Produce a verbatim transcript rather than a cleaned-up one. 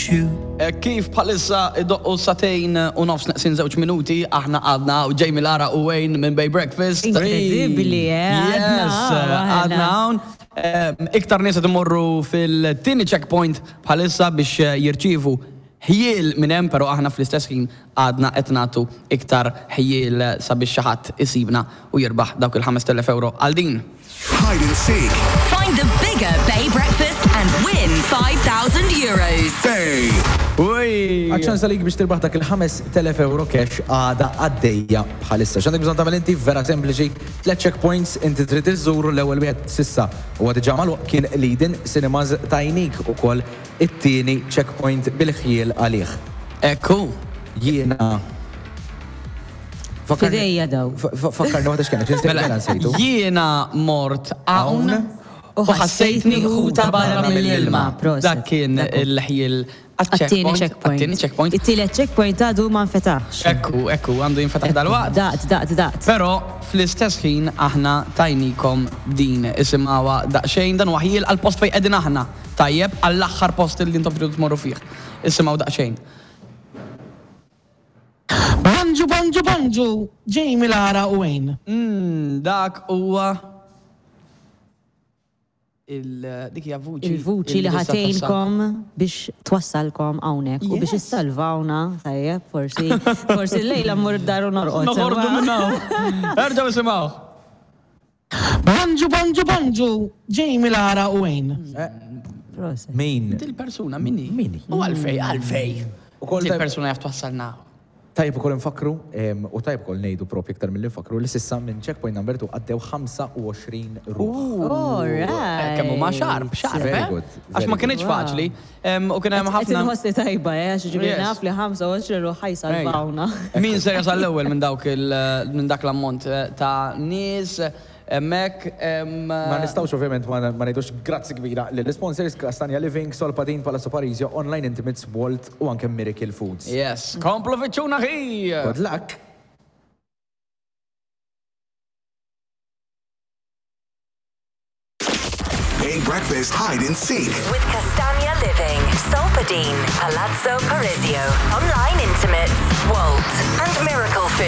shoe. Eh, Kif bħalissa idoqqu sagħtejn u nofs neqsin żewġ minuti, aħna għadna u Jamie Lara u Wayne minn Bay Breakfast. Incredibli, eh, għadna Yes, hawn, aħna. għadna hawn. Eh, Iktar nies qed imorru fil-tieni checkpoint bħalissa biex eh, jirċievu ħjiel minn hemm, però aħna fl-istess ħin għadna qed nagħtu iktar ħjiel sabiex xi ħadd isibna u jirbaħ dawk il-ħamest elef euro għal din. Hide and seek. Find the bigger Bay Breakfast and win five thousand euros. Bay. Uj! Għaċ-ċans għalik biex tirbaħ dak il-ħamest elef euro cash għada għaddejja bħalissa. X'għandek bżonn tagħmel inti? Vera sempliċi, tliet checkpoints inti trid iżżuru. L-ewwel wieħed s'issa u diġà magħluq kien Leadin Cinemas, tajnik ukoll it-tieni checkpoint bil-ħjiel għalih. Ekku. Jiena Fakkarni- F'idejja daw. Fa- fa- Fakkarni waħda x'kienet, Mela, mela nsejtu. Jiena mort hawn u ħassejtni ħuta barra mill-ilma. Proset. Dak kien Dak hu. il-ħjiel Għat-tieni checkpoint. Għat-tieni checkpoint. It-tielet checkpoint għadu ma nfetaħx. Ekku, ekku, għandu jinfetaħ dal-waqt. Daqt, daqt, daqt. Però fl-istess ħin aħna tajnikom din, isimgħuha daqsxejn, dan huwa ħjiel għal-post fejn qegħdin aħna. Tajjeb, għall-aħħar post li intom tridu tmorru fih. Isimgħu daqsxejn. Bonġu, bonġu, bonġu, Jamie Lara u Wayne. Mm, dak huwa il dik hija vuċi. Il-vuċi li tista' twassal. ħa tgħinkom biex twassalkom hawnhekk u biex Yes. issalvawna, tajjeb, forsi, forsi l-lejla mmur id-dar u norqod. Noħorġu sewwa? minn hawn. Erġgħu isimgħu. Bonġu, bonġu, bonġu, Jamie Lara u Wayne. Proset. Min? Dil-persuna minni. Min hi? U għalfej, għalfej. U kol tajb- Dil-persuna jaf twassalna. Tajb ukoll nfakru, em, u tajb ukoll ngħidu propju iktar mill nfakru li s'issa minn checkpoint number two għaddew ħamsa u għoxrin ruħ. All right. Kemm huma sharp, sharp, Very eh? good, Għax ma very kienx good. faċli. Em, U kien hemm Qed ħafna. inħossni tajba, eh, għax ġifieri Yes. naf li ħamsa u għoxrin ruħ ħa jsalvawna. Min ser jasal l-ewwel minn dawk il minn dak l-ammont eh, ta' nies hemmhekk em, Ma nistgħux ovvjament ma ma ngħidux grazzi kbira lill-sponsors Castagna Living, Solpatin, Palazzo Parisio, Online Intimates, Walt u anke Miracle Foods. Yes, komplu fittxuna ħi! Good luck! Bay Breakfast Hide and Seek. With Castagna Living, Solpadeine, Palazzo Parisio, Online Intimates, Walt, and Miracle Food.